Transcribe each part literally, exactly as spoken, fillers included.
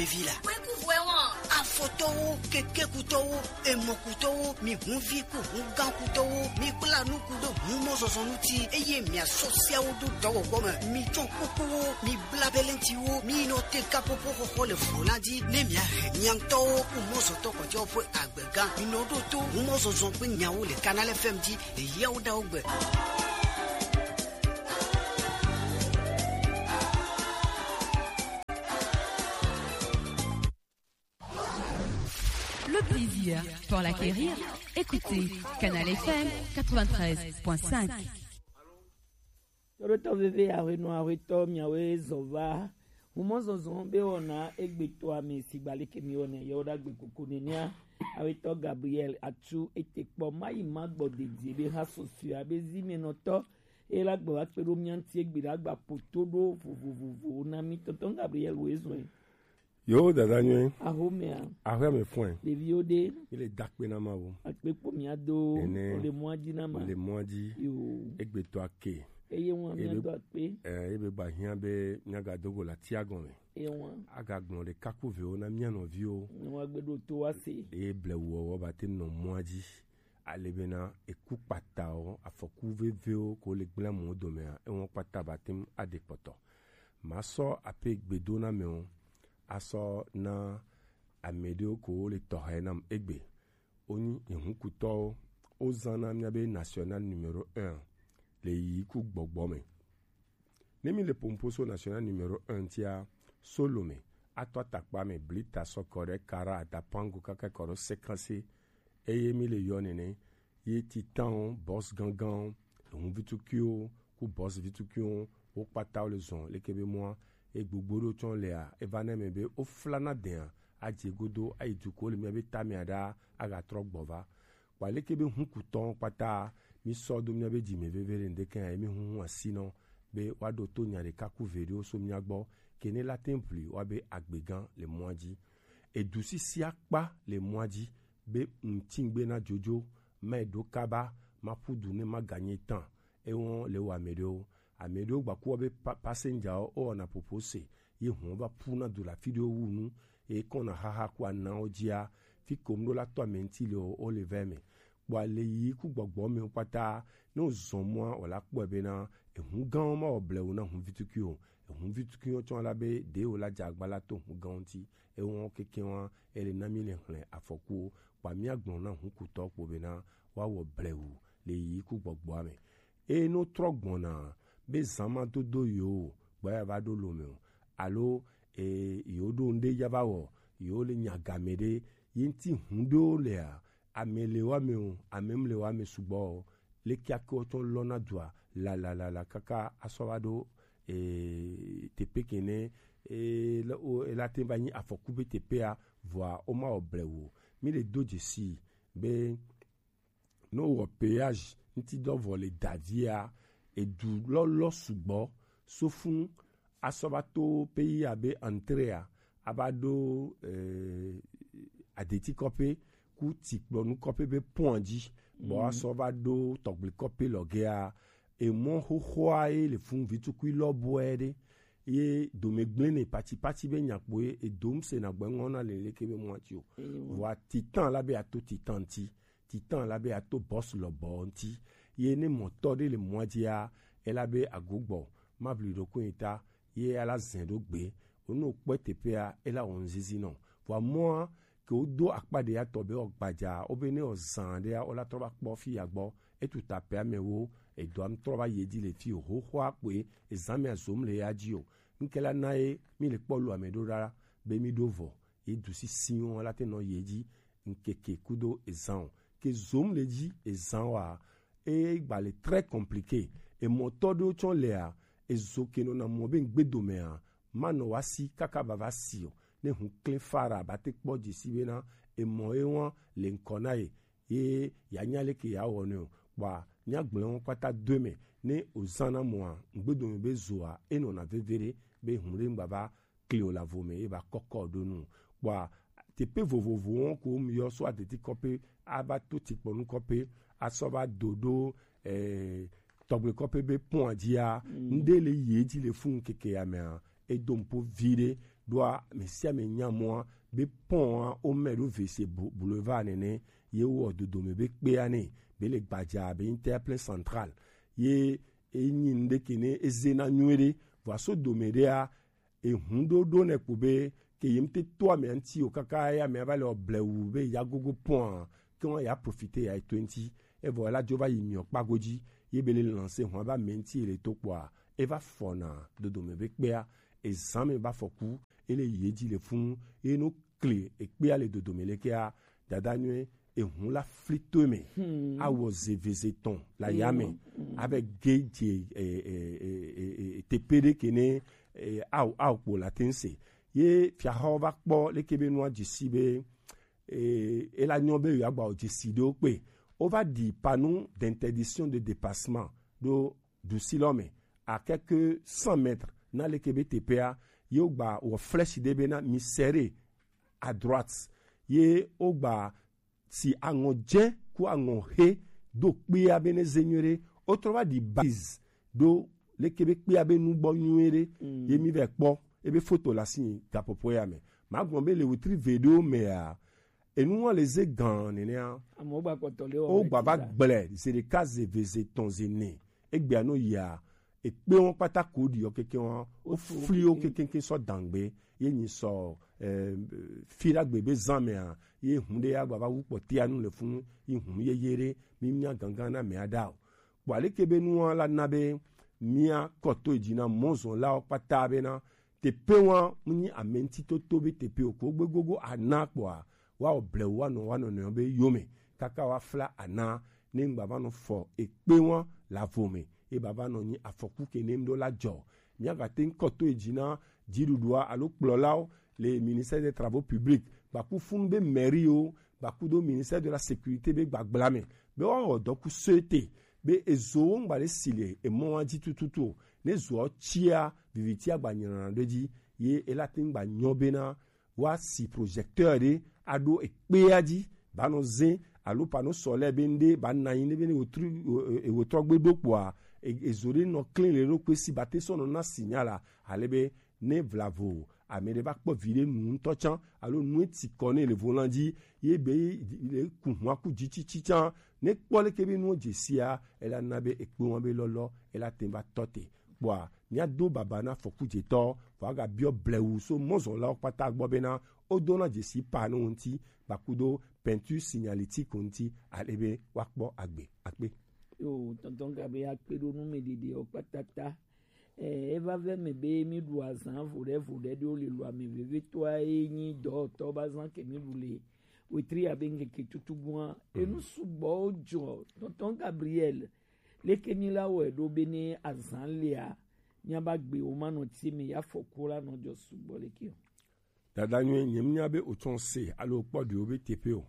Evi la. Kpekuvuɛ wɔn. Afɔtɔwo, kekekutɔwo, emɔkutɔwo, mi hunvi ku hungãkutɔwo, mi kpla nu ku ɖo humɔzɔzɔ ŋuti, eye miasɔ seawo do dɔwɔwɔ me. Mi tsɔ kukuwo, mi bla belentiwo, mi nɔ te kapopo xɔxɔ le flo la dzi, ne miahe mia ŋutɔwo ku mɔzɔtɔ kpɔtɔwo ƒe agbega. Mi nɔ ɖo to humɔzɔzɔ ƒe nyawo le Canal F M dzi le Yawoɖawo gbe. Le plaisir pour l'acquérir. Écoutez Canal F M quatre-vingt-treize point cinq. Tɔɖotɔ veve, ahwenɔ ahwetɔ, miawoe zɔ va humɔzɔzɔ be wɔna egbetɔa me, sigba leke mi wɔnɛ yewo ɖagbe kuku nenia. Awetɔ Gabriel Atu ete kpɔ mayi ma gbɔ dedie be ha sɔsɔe be zi me nɔtɔ e la gbe wa kpe ɖo mia ŋuti egbe la gba poto ɖo vovovovo na mi. Tɔntɔn Gabriel wo ezɔe. Yo, dada nyuie. Ahomea. Ahwe me fɔe. Ɖeviwo ɖe. Mi le da kpe na Mawu. Akpe kpo mia do. Ene. O le mɔa dzi na ma. Le mɔa dzi. Yo. Egbetɔ ake. Eye ŋua mia do akpe. Eh, ebe ba hiã be mia ga do go la tia gɔme. Eye ŋua. Aga gblɔ ɖe kaku vewo na mia nɔviwo. Ne wa gbe ɖo to wa se. Eye blewu wɔwɔ ba te nɔ mɔa dzi. Ale bena eku kpatawo, afɔku vevewo ko le gblẽ amewo domea, ewo kpata ba te ŋu aɖe kpɔtɔ. Masɔ ape gbedo na amewo, asɔ na ame ɖewo ko le tɔxɛ nam egbe. Wonyi ehunkutɔwo, wozãna míabe national numéro un le yiyi ku gbɔgbɔ me. Ne mi le Pomposo national numéro un tia, Solome, ato atakpa me, Blita, Sokore, Kara, Adapango, kaka kɔ ɖo Sekanse, eye mi le yɔ nene, ye Titanwo, Boss ganganwo, Ehun Vitukiwo, ku Boss Vitukiwo, wo kpata wo le zɔn leke be mɔa, e gbogbo ɖo tsɔ lea, e va na eme be wo flana dɛa, adze godo, ayi duko le mia be tamea ɖa, aga trɔ gbɔ va. Kpa leke be hunkutɔ kpata, mi sɔ do mia be dzi me veve ɖe ŋdeke ya, mi huhu asi nɔ, be wa ɖo to nya ɖeka ku ve ɖewo so mia gbɔ, ke ne la te ŋu ʋli wa be agbegã le mɔa dzi. Edu sisi akpa le mɔa dzi, be ŋutingbe na jojo, ma ɖo kaba, ma ƒu du ne ma ganye tan. Ewɔn le wo ame ɖewo. Ame ɖewo gbaku be pa-, passenger wo, wo wɔna popo se, ye hɔn va ƒu na du la fi ɖewo wu nu, ye kɔna xaxa ku anawo dzia, fi kom ɖo la tɔ ame ŋuti le o, wo le vɛ me. Kpɔ ale yi ku gbɔgbɔ me kpata, ne wo zɔn mɔa, wo la kpɔe bena, ehun gãwo ma wɔ blewu na hun vituki o. Ehun vituki wo tsɔ la be, ɖe wo la dze agba la to hun gãwo ŋuti. Ewɔn keke wa, ele na mi le hlẽ afɔkuwo. Kpa mia gblɔ na hunkutɔ kpo bena, wa wɔ blewu le yi ku gbɔgbɔa me. Eye ne wotrɔ gbɔna be zã ma dodo yewo o, gbɔ ya va ɖo lo me o, alo, e, yewo ɖo ŋɖe ya va wɔ, yewo le nya game ɖe, ye ŋti hun ɖewo lea, ame le wa me o, ame mle wa me sugbɔ o, leke ake wotsɔ lɔna dua, la, la, la, la, kaka asɔ va ɖo, e, teƒe kene, e, le, o, e la te va nyi afɔku be teƒea, vɔa, woma wɔ blewu o. Mi le do dzesi be, ne wowɔ péage ŋuti dɔ vɔ le davia, edu lɔlɔ sugbɔ, sofun asɔ va to pays abe Antrea, ava ɖo, eh, Adeti kɔƒe ku Tikplɔnu kɔƒe be pɔn dzi, bɔ asɔ va ɖo Tɔgble kɔƒe lɔgea, emɔ xoxoa ye le fun vitukui lɔbɔe ɖe, ye dome gblẽ ne patipati be nyakpo ye, edom se na gbɛ ŋɔ na le leke be mɔa ti o. Vɔa titan la be ato titan ti. Titan la be ato bɔs lɔbɔ ŋti. Ye ne mɔtɔ ɖe le mɔa dzia, ela be agogbɔ, ma bli ɖo koe ta, ye ala zɛ ɖo gbe. Ono kpɔe teƒea, ela wɔ ŋzizi nɔ. Vɔa mɔa, ke wodo akpa ɖe ya tɔ be wɔ gbadza, wo be ne wɔ zã ɖea, wola trɔ va kpɔ fi ya gbɔ. Etu ta pɛ amewo, edɔa ŋtrɔ va yi edzi le fi o. Xoxoa kpoe, ezã mea zom le ya dzi o. Ŋke la na ye, mi le kpɔ lo ame ɖo ɖa, be mi ɖo vɔ. Ye du sisiwo la te nɔ yi edzi ŋkeke kudo ezã o. Ke zom le dzi ezã wa, e gba le très compliqué. Emɔtɔ ɖewo tsɔ lea, ezo ke nɔna mɔ be ŋgbedomea, ma nɔ wa si kaka vava si o. Ne hun klẽ fara ba te kpɔ dzesi bena emɔ ye wa le ŋkɔ na ye, ye ya nya leke ya wɔ nɛ o. Kpɔa, mia gblẽ wo kpata do eme. Ne ozã na mɔa, ŋgbedome be zoa, enɔna veve ɖe, be hun ɖe ŋgba va kli o la vo me, ye va kɔkɔ ɖo nu. Kpɔa, teƒe vovovowo ko mi yɔ so Adeti kɔƒe, ava to Tikplɔnu kɔƒe, asɔ va do ɖo, eh, Tɔgble kɔƒe be pɔn dzia, ŋɖe le yi edzi le fun keke ya mea, e do nupo viɖe ɖoa mɛsiamɛ nya mɔa be pɔn a o mɛ ɖo V C Bou-, Boulevard nɛnɛ ye wɔ dodome be kpea nɛ be le gbaja be nyi terre plein central ye e nyi nuɖe ke ne e ze na nyuie ɖe vɔa so dome ɖea ehun ɖo ɖo nɛ kpo be ke yem te to ame ŋuti o kaka ya ame va le ɔble wu be ya gogo pɔa ke wọn ya profite ya to ŋuti evɔ la dzo va yi miɔ kpago dzi ye be le lancer hɔn va ame ŋuti le to kpɔa e va fɔna dodome be kpea ezan me va fɔku e le ye dzi le funu ye no kle ekpea le dodome le kea dada nyuie ehun la fli to me awɔ zeveze tɔn la ya me avɛ ge dze e, e, e, e, e, tepe ɖe ke ne e, aw aw kpo la te ŋ se ye fiaxɔ va kpɔ leke be nua dzi si be e, e la nyɔ be yewoagba o dzi si ɖewo kpe wova ɖi panu d'interdiction de dépassement ɖo ɖusi lɔ me à quelques cent mètres na leke be teƒea ye wogba wɔ flèche ɖe be na mi serrer à droite ye wogba si aŋɔ dze ku aŋɔ he do kpea be ne ze nyuie ɖe wotrɔ va ɖi base ɖo leke be kpea be nugbɔ nyuie ɖe ye mi vɛ kpɔ ebe foto la si gaƒoƒo ya me magblɔ be le wetri ve ɖewo mea enuwa le ze gan nenea amewo gba kpɔtɔ le wogba va gblẽ ze ɖeka ze ve ze tɔn ze ne egbea no yia ekpe wọn kpata ko ɖi yɔ keke wọn wofli wo kekeŋke sɔ dangbe ye nyi sɔ eh, fi ɖagbe be zã mea ye hun ɖe ya gba va wu kpɔtia nu le funu yi hun yeye ɖe mi mia gangan na mea ɖa o kpɔ aleke be nua la na be mia kɔto dzi na mɔzɔnlawo kpata bena teƒe wa mu nyi ame ŋutitoto be teƒe o ko gbe gogo ana kpɔa woawɔ blewu woanɔ woanɔnɔewo be yome kaka woafla ana ne ŋgba va nɔ fɔ ekpe wa le avo me ye bava nɔ nyi afɔku ke ne ŋɖo la dzɔ míagate ŋkɔ to edzi na dziɖuɖua alo kplɔlawo le ministère des travaux publics gbaku funu be mairie wo gbaku do ministère de la sécurité be gbagbla me be woawɔ dɔku sɔete be ezo wo ŋgba ɖe si le emɔ wa dzi tututu o ne zoa tsia vivitia gba nyina ɖe dzi ye ela te ŋgba nyɔ bena woasi projecteur ɖe aɖo ekpea dzi banɔ zẽ alo pano sɔlɛ be ŋɖe bana anyi ne be ne wòtrɔ gbe ɖo kpoa ezo ɖe nɔ klin le ɖokui si bate sɔ nɔ na sinya la ale be ne vlavo ame ɖe va kpɔ vi ɖe nu ŋutɔ tsã alo nu eti kɔ ne le volan dzi ye be le ku hua ku dzi tsitsi tsã ne kpɔ leke be nuwo dze sia ela na be ekpe wɔn be lɔlɔ ela te va tɔ te kpɔa míado baba na fɔkudzetɔ vɔ agabiɔ blewu so mɔzɔnlawo kpata gbɔ bena wodona dzesi pa no ŋuti gbakudo peinture signalétique ŋuti ale be woakpɔ agbe akpe. Yo, tonton Gabriel akpe ɖo nu me ɖeɖe o kpatata. Eh, eva vɛ me be mi ɖu azan vo ɖe vo ɖe ɖo le lu ame veve toa ye nyi dɔtɔ ba zan ke mi ɖu le wetri abe ŋkeke tutugbua. Enu sugbɔ jɔ tonton Gabriel leke mi la wɔ ɖo be ne azan lea nya ba gbe wo ma nɔ tie me ya fɔku la nɔ jɔ sugbɔ leke o. Dada nyuie nye mnya be otsɔ se alo kpɔ ɖewo be teƒe o.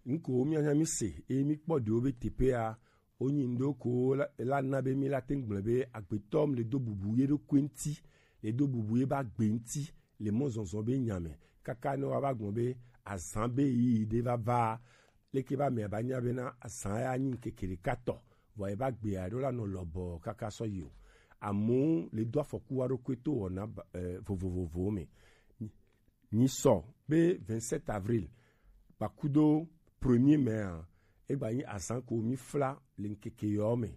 Ŋko mia nya mi se e mi kpɔ ɖewo be teƒea o nyi ndo ko la, la na be mi la te gblẽ be agbetɔ le do bubu ye ɖo kue ŋti le do bubu ye ba gbe ŋti le mɔ zɔzɔ be nya me kaka ne wa ba gblɔ be azan be yi ɖe va va leke ba mea ba nya bena azan ya nyi ŋkeke ɖeka tɔ vɔ eba gbea ɖo la nɔ lɔbɔ kaka sɔ yi o. Amewo le do afɔku wa ɖokui to wɔna eh, vovovovowo me. Nyi sɔ be vingt-sept avril gbakudo premier mai a egba nyi azan ko mi fla le ŋkeke yɔ me.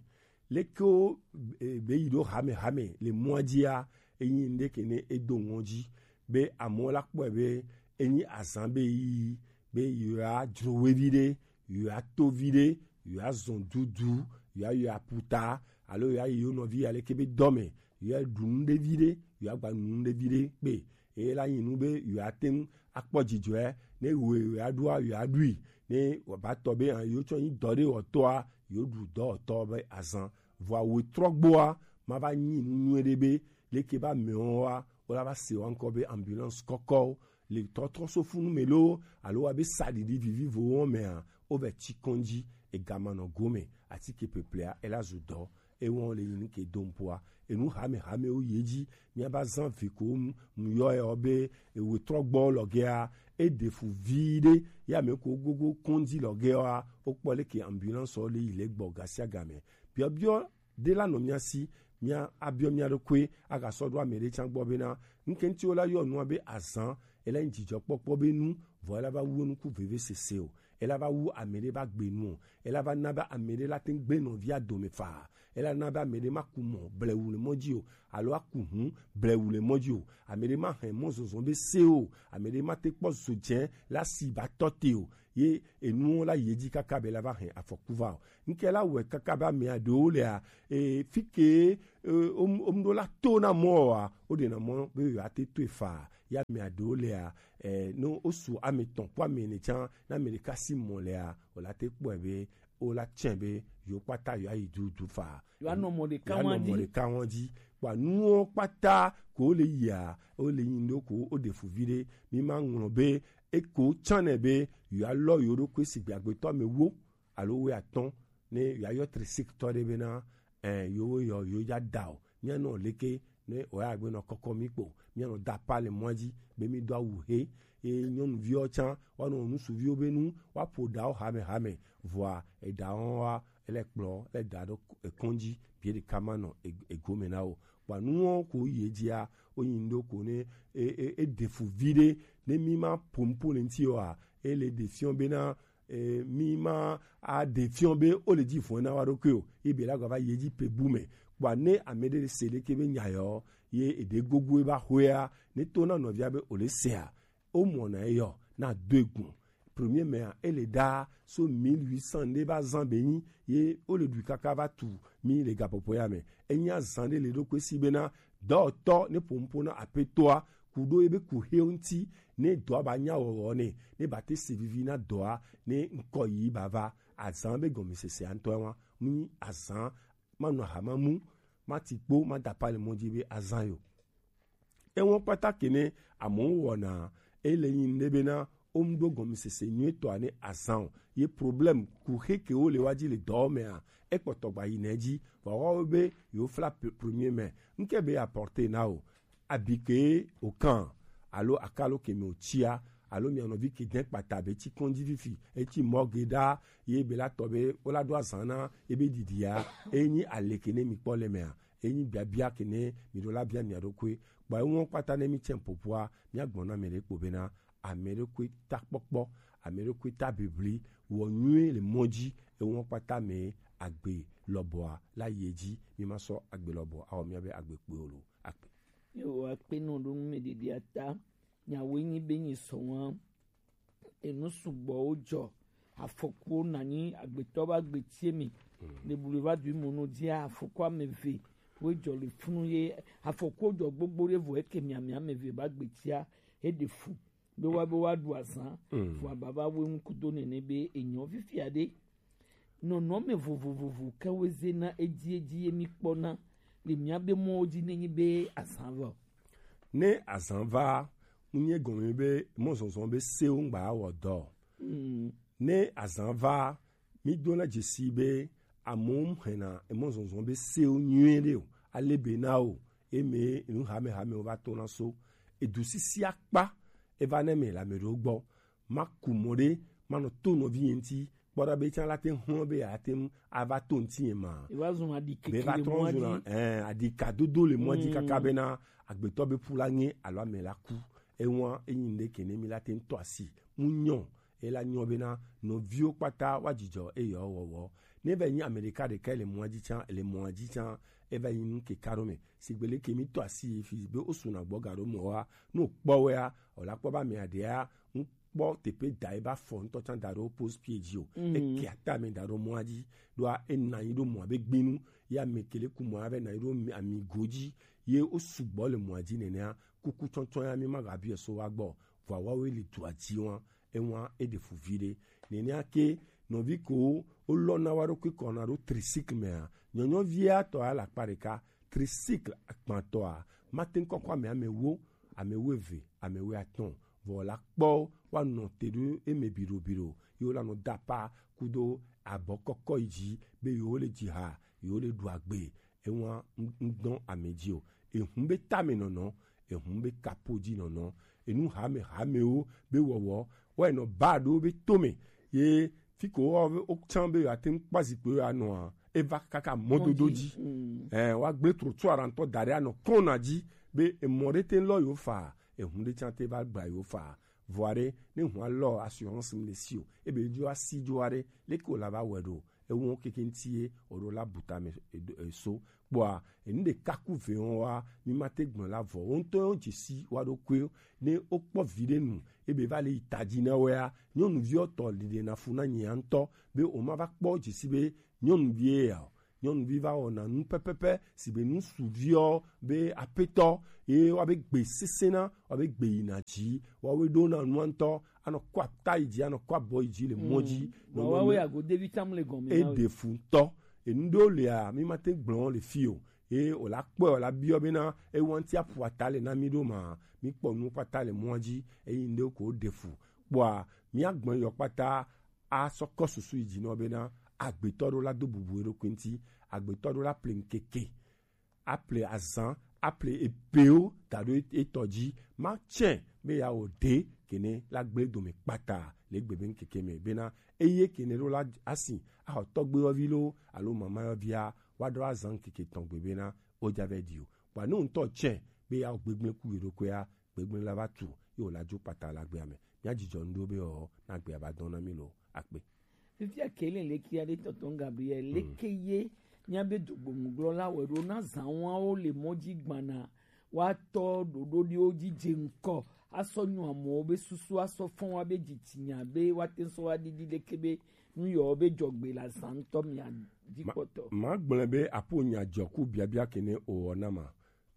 Leke wo eh, be yi ɖo hame hame le mɔa dzia enyi ŋɖe ke ne edo ŋɔdzi be amewo la kpɔe be enyi azan be yi be yewoa dzro wevi ɖe yewoa to vi ɖe yewoa zɔn dudu yewoa yɔ aputa alo yewoa yi yewo nɔvi aleke be dɔ me yewoa ɖu nu ɖe vi ɖe yewoa gba nu ɖe vi ɖe kpe eye la nyi nu be yewoa te ŋu akpɔ dzidzɔe ne yewoe yewoa ɖua yewoa ɖui ne wòava tɔ be yewo tsɔ nyi dɔ ɖe wɔtɔa yewo ɖu dɔwɔtɔ be azan vɔa wòtrɔ gbɔa ma va nyi nu nyuie ɖe be leke be amewo wa wola va se wa ŋkɔ be ambulance kɔkɔwo le tɔtrɔ so funu me loo alo wa be saɖiɖi vivivowo mea wovɛ tsi kɔn dzi ega ma nɔ gome atike peplea ela zu dɔ ewɔn le yin ke dom poa enu hame hamewo ye dzi mia ba zan vi ko mu yɔ yɔ be ewe trɔ gbɔ lɔgea eɖe fu vi ɖe ya me ko gogo kɔn dzi lɔgea wokpɔ leke ambulance le yi le gbɔ gasia game biɔbiɔ ɖe la nɔ mia si mía abiɔ mía ɖokui, aga sɔ ɖo ame ɖe tsã gbɔ bena, ŋkɛnti wo la yɔ nua be azan, ela nyi dzidzɔkpɔkpɔ be nu, vɔ ela va wu enuku veve sese o, ela va wu ame ɖe ba gbe nu o, ela va na be ame ɖe la te gbe nɔvia dome fa, ela na be ame ɖe ma ku mɔ blewu le mɔ dzi o, alo aku hu blewu le mɔ dzi o, ame ɖe ma hɛn mɔ zɔzɔ be se o, ame ɖe ma te kpɔ zo dze la si ba tɔ te o, ye enuwo la yi edzi kaka be la va hɛn afɔku va o. Ŋkɛ la wɔe kaka be amea ɖewo lea, e, fi ke, e, wom-, womɖo la to na mɔ oa, woɖena mɔ be yewoate toe faa. Ya amea ɖewo lea, e, ne wosu ame etɔ̃ kpo ame ene tsã, ne ame ɖeka si mɔ lea, wòla te kpɔe be wola tsɛ be yewo kpata yewoayi dudu faa. Yewoanɔ mɔ ɖeka Yewoanɔ wɔn mɔ dzi. Ɖeka wɔn dzi. Kpɔ nuwo kpata ko le yia, wo le yin ɖo ko wo ɖe fu vi ɖe. Mi ma ŋlɔ be eko tsã nɛ be yewoalɔ yewo ɖokui sigbe agbetɔ ame wo alo wuiatɔ̃, ne yewoayɔ trisiktɔ ɖe bena, ɛ, yewo yɔ, yewo ya da o. Míanɔ leke ne wòya gbe nɔ kɔkɔ mí kpo. Míanɔ da pa le mɔa dzi be mí do awu he. Eye nyɔnuviwo tsã, woanɔ nusuviwo be nu, woaƒo ɖawo hamehame. Vɔa, eɖawo wa, ele kplɔ, ele da ɖo ekɔn dzi, bie ɖeka ma nɔ e-, egome na wo. Kpɔ nuwo ko yi edzia, wo yin ɖo ko ne e, e, e ɖe fu vi ɖe, ne mí ma ƒo nuƒo le ŋuti oa, ele ɖe fiɔ bena, e, mí ma a ɖe fiɔ be wo le dzi vɔn na wa ɖokui o. Ebe la gba va yi edzi pe bu me. Kpɔ ne ame ɖe se ɖeke be nya yɔ, ye eɖe gogo eba hoea, ne to na nɔvia be o le sea, o mɔ na eyɔ, na do egun. Premier mea, ele da so mille huit cents ɖe ba zan be nyi, ye o le ɖui kaka va tu mí le gaƒoƒo ya me. Enya zan ɖe le ɖokui si bena, dɔtɔ ne ƒo nuƒo na apetoa, ku ɖo ebe ku he ŋuti, ne dɔa ba nya wɔwɔ ne, ne ba te se vivi na dɔa, ne ŋkɔ yi ba va. Azan be gɔmesese ŋutɔ wa, mu nyi azan, ma nɔ hama mu, ma ti kpo, ma da pa le mɔ dzi be azan yo. Ewɔn kpata ke ne amewo wɔna, ele yin ɖe bena, wo mu ɖo gɔmesese nyuitɔ ne azan o. Ye problème ku he ke wo le wa dzi le dɔ mea, ekpɔtɔ gba yi ne dzi, vɔ wa wo be yo fla pe-, premier mea, ŋke be apporter na o. Abi ke o kan, alo akalo ke me o tsia, alo mia nɔvi ke den kpata be tsi kɔndzi fifi, etsi mɔ ge ɖa, ye be la tɔ be, wo la ɖo azan na, ebe ɖiɖia, enyi ale ke ne mi kpɔ le mea, enyi biabia ke ne mi ɖo la bia mia ɖokui. Kpɔ ewɔn kpata ne mi tsɛ ƒoƒoa, mia gbɔ na ame ɖe kpo bena, ame ɖokui ta kpɔkpɔ, ame ɖokui ta bibli, wɔ nyui le mɔ dzi, ewɔn kpata me agbe lɔbɔa la yi edzi, mi ma sɔ agbe lɔbɔ, awɔ mia be agbe kpui o lo. Akpe. Yehowa kpe nɔ ɖo nu me ɖiɖia ta. Nyawoe nyi be nyi sɔ wa. Enu sugbɔwo dzɔ. Afɔkuwo nanyi agbetɔ ba gbetie mi. Le bulu va du mono dzia afɔku ame eve. Wo dzɔ le funu ye afɔkuwo dzɔ gbogbo ɖe vɔ eke miami ame eve ba gbetia. Eɖe fu. Be wa, be wa ɖu azan. Vɔ ababa wo ŋu kudo nene be enyɔ fifia ɖe. Nɔnɔme vovovovo ke woze na edzi edzi ye mi kpɔna le miabe mɔwo dzi nenyi be azan va o. Ne azan va, ŋunye gɔme be mɔzɔzɔ be sewo ŋgba wɔ dɔ. Mm. Ne azan va, mi dona dzesi be amewo hena emɔzɔzɔ be sewo nyuie ɖe o. Ale be na o, eme nu hame hamewo va tona so. Edu sisi akpa, eva ne me le ame ɖewo gbɔ. Ma ku mɔ ɖe, ma nɔ to nɔvi ye ŋuti, kpɔ ɖa be tsã la te ŋlɔ be yeate ŋu ava to ŋuti ye ma. Eva zun aɖi keke le mɔa dzi. Be va trɔ zun, eh, aɖi ka dodo le mɔa dzi kaka bena agbetɔ be ƒu la ŋe alo ame la ku. Ewa, enyi ŋɖe ke ne mi la te ŋu tɔ asi. Mu nyɔ, ela nyɔ bena nɔviwo kpata wa dzidzɔ eyɔ wɔwɔ. Ne va nyi ame ɖeka ɖeka le mɔa dzi tsã, le mɔa dzi tsã, eva nyi nu keka ɖo me. Sigbe leke mi tɔ asi fi be o suna gbɔ ga ɖo mɔ wa, no kpɔ wea, o la kpɔ ba me aɖea, ŋu kpɔ teƒe da ebe afɔ ŋutɔ tsã da ɖe wo pose pied dzi o. Eke atame da ɖe mɔa dzi, ɖoa ena anyi ɖo mɔa be gbinu, ye ame ke le ku mɔa be na anyi ɖo ami, amigo dzi, ye wo sugbɔ le mɔa dzi nenea, kuku tsɔtsɔ ya mi ma gabiɔ so wa gbɔ, vɔ awawo le dua dzi wa, ewa eɖe fu vi ɖe. Nenea ke nɔvi ko wo lɔ na wa ɖokui kɔ na ɖo tricycle mea, nyɔnyɔvia tɔ ya le akpa ɖeka, tricycle agbãtɔa, mate ŋu kɔkɔ ame, ame wo, ame wuieve, ame wuiatɔ̃. Vɔ la kpɔ woanɔ te ɖo eme biɖobiɖo. Ye wolanɔ da apa kudo abɔ kɔkɔ yi dzi be yewo le dzi ha, yewo le ɖu agbe. Ewa ŋdɔn ame dzi o. Ehun be tame nɔnɔ, ehun be kapo dzi nɔnɔ. Enu hame hamewo be wɔwɔ, wɔe nɔ ba ɖo be tome. Ye fi ko wo, wo tsã be yewoate ŋu kpɔ zikpui yewoanɔa, eva kaka mɔdodo dzi. Ɛ, woagblẽ trottoir ŋutɔ da ɖe anɔ kɔna dzi be emɔ ɖe te lɔ yewo fa, ehun ɖe tsã te va gba yewo fa. Vɔa ɖe, ne hua lɔ assurance mi le si o, ebe dzo asi dzo aɖe, leke wòla va wɛ ɖo? Ewo keke ŋuti ye wòɖo la bu tame, e, e, so. Kpɔa, enu ɖeka ku ve wɔn wa, mi ma te gblɔ la vɔ. Wo ŋutɔ wo dzesi wa ɖokuiwo. Ne wokpɔ vi ɖe nu, ebe va le yi ta dzi na wɔa, nyɔnuviwo tɔ ɖiɖe na fu na nyia ŋutɔ, be woma va kpɔ dzesi be nyɔnuvie ya o. Nyɔnuvi va wɔna nu pɛpɛpɛ, si be nu suviɔ be apetɔ, ye wa be gbe sesẽ na, wa be gbe yina dzi, wa we ɖo na nua ŋutɔ, anɔ kɔ ata yi dzi, anɔ kɔ abɔ yi dzi le mɔ dzi. Nɔ wawe ago devi tam le gɔme e na we. Ɖe fu ŋutɔ. Enu ɖewo lia, mi ma te gblɔ le fi o. Ye wòla kpɔe, wòla biɔ bena, ewanti aƒu ata le na mi ɖo ma, mi kpɔ nu kpata le mɔa dzi, eyi ŋɖewo ko ɖe fu. Kpɔa, mia gbɔn yɔ kpata, asɔ kɔ susu yi dzi nɔ bena, agbetɔ ɖo la do bubu eɖokui ŋuti, agbetɔ ɖo la ple ŋkeke, aple azan, aple epewo da ɖo etɔ dzi, ma tsɛ be ya wɔ ɖe kene la gble dome kpata le gbe be ŋkeke me bena, eye kene ɖo la asi axɔ tɔgbe yɔvi lo alo mama yɔvia, wa ɖo azan ŋkeke tɔn gbe bena, o dza vɛ ɖi o. Kpɔa ne ŋutɔ tsɛ be ya wɔ gbegblẽ ku yeɖokuia, gbegblẽ la va tu, ye wòla dzo kpata la gbea me. Mia dzidzɔ ŋɖo be ɔ, na gbea va dɔn na mi lo. Akpe. Fifia ke le leke aɖe tɔtɔ Gabriel, leke ye mia be dogbonuglɔ la wɛ ɖo na zanwawo le mɔ dzi gbana, wa tɔ ɖoɖo ɖiwo dzi dze ŋkɔ, asɔ nyɔ amewo be susu, asɔ fɔn wa be dzitsinya be wa te sɔ wa ɖiɖi leke be nu yɔ be dzɔgbe la zan ŋutɔ mia dzi kpɔtɔ. Ma gblẽ be apo nya dzɔ ku biabia kene o na ma.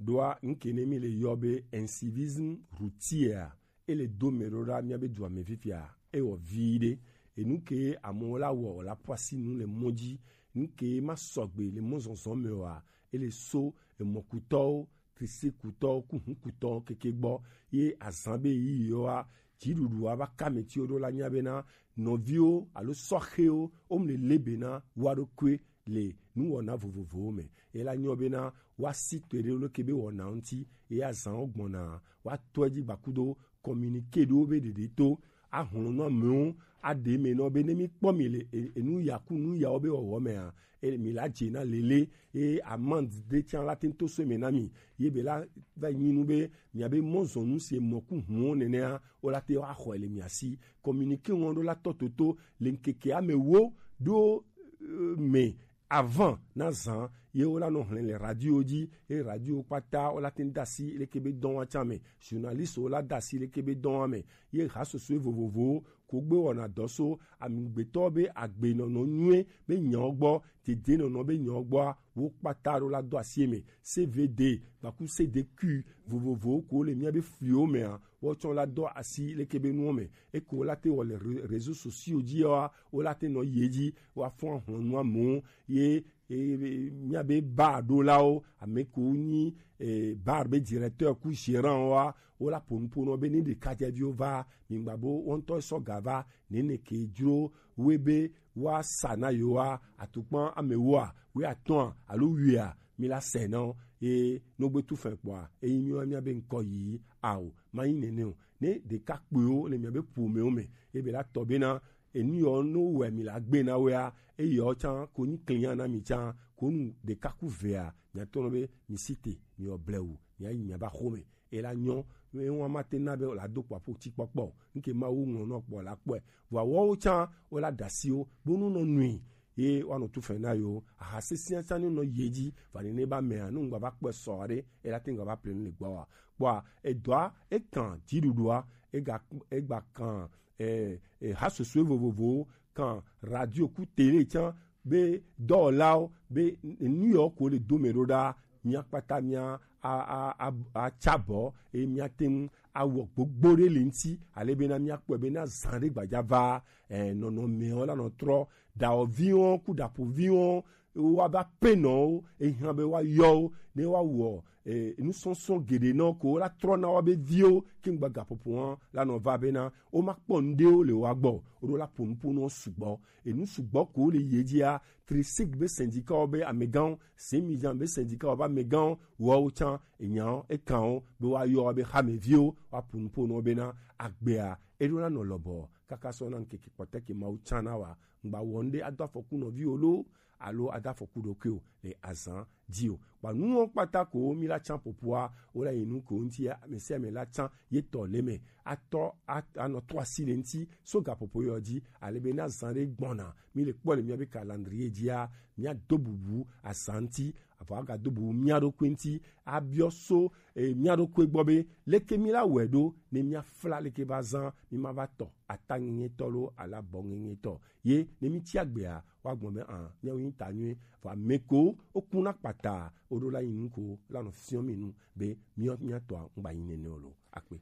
Ɖoa ŋke ne mi le yɔ be incivisme routier a, ele do me ɖo ɖa mia be dua me fifia, e wɔ vi ɖe. Enu ke amewo la wɔ la ƒu asi nu le mɔ dzi. Nu ke ma sɔgbe le mɔzɔzɔ me oa, ele so emɔkutɔwo, trisikutɔwo, ku hukutɔwo keke gbɔ. Ye azan be yi yɔa, dziɖuɖua va ka me ti wo ɖo la nya bena nɔviwo alo sɔxewo wo mle le bena wa ɖokui le nuwɔna vovovowo me. Ela nyɔ bena woasi to ɖe leke be wɔna ŋuti, eya zan wo gbɔna, woatɔ edzi gbakudo communiqué ɖewo be ɖeɖe to, ahlɔnu amewo, aɖe me nɔ be ne mi kpɔ mi le e- enu ya ku nu yawo be wɔwɔ mea, e- mi la dze na lele, eye amande ɖe tsã la te ŋu to so eme na mi, ye be la va nyi nu be mia be mɔzɔnu si mɔ ku hũwo nenea, wo la te axɔe le mia si. Communiqué ŋɔ ɖo la tɔ toto le ŋkeke ame wo ɖo, eh, me avant na zan, ye wo la nɔ hlẽ le radio dzi, ye radio kpata wo la te ŋu de asi leke be dɔn wa tsã me, journaliste wo la de asi leke be dɔn wa me, ye ha sosoe vovovowo ko gbe wɔna dɔ so amigbetɔ be agbenɔnɔ nyuie be nyawo gbɔ, dedenɔnɔ be nyawo gbɔa, wo kpata ɖo la do asi eme. C V D gbaku C D Q vovovowo ko le mia be fliwo mea, wotsɔ la do asi leke be nuwo me. Eko la te wɔ le re- réseaux sociaux dzi wa, wo la te nɔ yi edzi, wa fɔ ahlɔnu amewo, ye, ye mia be bar ɖolawo, ame ko nyi, eh, bar be directeur ku gérant wa, wo la ƒo nu ƒo nɔ be ne ɖekadzeviwo va, mi gba bo wo ŋutɔ sɔ ga va, nene ke dzro we be wa sa na yewo wa, atukpa ame woa, we atɔa, alo wia, mi la sɛ na wo, ye no gbe tu fɛ kpɔa, eyi mi wa mia be ŋkɔ yi ao, ma yi nene o. Ne ɖekakpuiwo le mia be ƒomewo me, ye be la tɔ bena, enu yɔ no wɛ mi la gbe na wea, eye yɔ tsã ko nyi klinya na mi tsã, ko nu ɖeka ku vea, mia tɔ nɔ be mi si te, mi yɔ blewu, mia yi mia ba xome, e la nyɔ, e wa ma te na be la do kpɔ aƒo tsi kpɔkpɔ, nke ma wo ŋlɔ nɔ kpɔ la kpɔe, vɔ wɔwo tsã wo la da si wo, bonu nɔ nui, ye wa nɔ tu fɛ na yo, aha sesia tsã ni nɔ ye dzi, va ni ne ba mea, nu ŋgba va kpɔe sɔ ɖe, e la te ŋgba va ple nu le gbɔ wa, kpɔa, edɔa, e kan dziɖuɖua, e ga, e gba kan eh, eh, ha sosoe vovovowo kan radio ku tele tsã be dɔwɔlawo be nu yawo ko le do me ɖo ɖa, mia kpata mia a a a a tsa bɔ, eye mia te ŋu awɔ gbogbo ɖe le ŋuti ale bena mia kpɔe bena zã ɖe gbadza va, eh, nɔnɔmewo la nɔ trɔ, dawɔviwo ku ɖaƒoviwo wa va pe nɔwo, ehiã be wa yɔ wo ne wa wɔ, eh, nusɔsɔ geɖe nɔ ko la trɔ na wa be viwo ke ŋgba gaƒoƒo hã la nɔ va bena wo ma kpɔ ŋɖewo le wa gbɔ, wo ɖo la ƒo nuƒo nɔ sugbɔ. Enu sugbɔ ko le ye dzia, Trisik be syndicat wo be amegãwo, Semijan be syndicat wo be amegãwo, woawo tsã, enyawo, ekan wo be wa yɔ wa be hameviwo, wa ƒo nuƒo nɔ bena agbea, eɖo la nɔ lɔbɔ, kaka sɔ na ŋkeke kpɔtɛ ke Mawu tsã na wa, ŋgba wɔ ŋɖe ado afɔku nɔviwo lo, alo ado afɔku ɖokui o le azan ji o. Kpa nuwo kpata ko mi la can popoa, wo la yi nu ko ŋuti ya, ame sia ame la can ye tɔ le me. Atɔ a- anɔ to asi le ŋuti so gaƒoƒo yɔ ji, ale be na zan ɖe gbɔna, mi le kpɔ le mia be calendrier jia, mia do bubu azan ŋuti, avɔ aga do bubu mia ɖokui ŋuti, abiɔ so e, mia ɖokui gbɔ be leke mi la wɔe ɖo ne mia fla leke ba zan mi ma va tɔ ata ŋeŋetɔ lo ala bɔ ŋeŋetɔ ye ne mi tsi agbea wa gbɔn be an miawo yin ta nyuie vɔ ame ko wo kuna kpata wo ɖo la yin nu ko la nɔ fiɔ mi nu be miɔ mia tɔa ŋgba yin nene o lo akpe.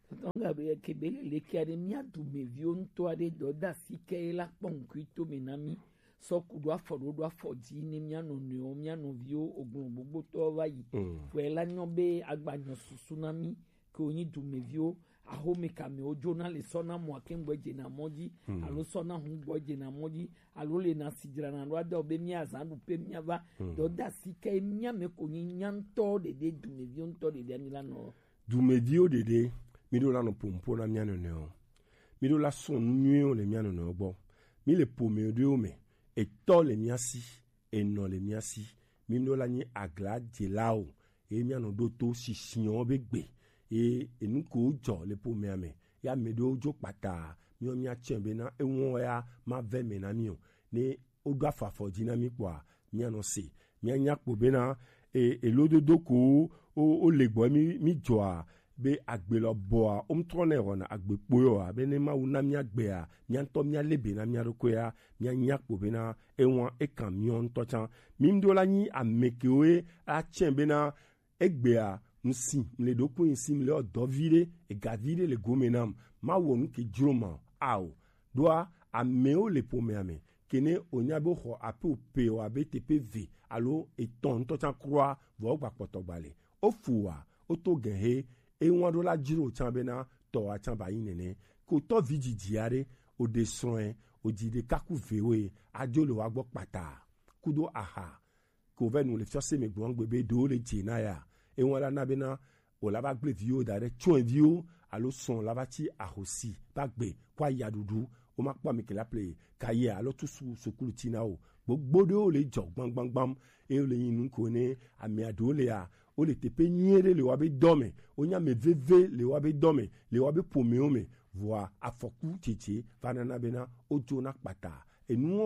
Tɔtɔ ŋgbe be ke be le leke aɖe mia dumeviwo ŋutɔ aɖe dɔ da si ke la kpɔ ŋkui to me na mi sɔ ku ɖo afɔ ɖo ɖo afɔ dzi ne mia nɔnɔewo mia nɔviwo oglɔ gbogbotɔwo va yi. Vɔe la nyɔ be agbanyɔ susu na mi ke wonyi dumeviwo, ahome kamewo dzona le sɔna mɔ ake ŋgbɔ dzena mɔ dzi alo sɔna hu gbɔ dzena mɔ dzi alo le na si dzrana ɖo adɔ be mia zã ɖu pe mia va dɔ da si ke mia me ko nyi nya ŋutɔ ɖeɖe dumeviwo ŋutɔ ɖeɖe ami la nɔ. Dumeviwo ɖeɖe mi ɖo la nɔ pompo na mia nɔnɔewo, mi ɖo la sɔ nu nyuiwo le mia nɔnɔewo gbɔ, mi le pome ɖewo me, etɔ le mia si, enɔ le mia si, mi ɖo la nyi agla dzelawo eye mia nɔ ɖo to sisiɔn be gbe eye enu ko jɔ le pomea me ya me ɖewo dzo kpata miɔ mia tsɛ be na ewɔn ya ma vɛ me na mi o ne woɖo afɔ afɔ dzi na mí kpɔa, míanɔ se. Míanya kpo bena e, elododo ko wo, wo le gbɔ mí, mí dzɔa be agbe lɔ bɔa, wo ŋutɔ nɛ wɔna agbe kpoyɔa, be ne Mawu na mí agbea, mía ŋutɔ mía le be na mía ɖokuia, míanya kpo bena ewan ekan mía ŋutɔ tsã. Mí ŋɖo la nyi ame kewoe atsɛ bena egbea, ŋsi, mle ɖokui ŋsi, mle ɔ dɔvi ɖe, egavi ɖe le gome nam, ma wɔ nu ke dzro ma o. Ao, ɖoa, amewo le ƒomea me, ke ne wònya be woxɔ ape ope o abe teƒe ve alo etɔ̃ ŋutɔ tsã kura, vɔ wogba kpɔtɔ gba le. Wofu wa, woto gɛhe, ewa ɖo la dzro tsã bena tɔwa tsã ba yi nene. Ko tɔvi dzidzi aɖe, woɖe srɔ̃e, wodzi ɖeka ku vewoe, adzo le wa gbɔ kpata, kudo aha, ko vɛ nu le fiɔse me gblɔm gbe be ɖewo le dze na ya. Ewa la na bena wòla va gblẽ viwo da ɖe tsɔe viwo alo srɔ̃ la va tsi ahosi va gbe kɔ aya ɖuɖu. Womakpɔ ame ke la ple kayia alo tusu sukulu tina o. Gbogbo ɖewo le dzɔ gbamgbamgbam eye wole yin nu ko ne amea ɖewo lea, wole teƒe nyuie ɖe le woabe dɔ me, wonye ame veve le woabe dɔ me, le woabe ƒomewo me, vɔa afɔku dzedze va nana bena wodzona kpata. Enuwo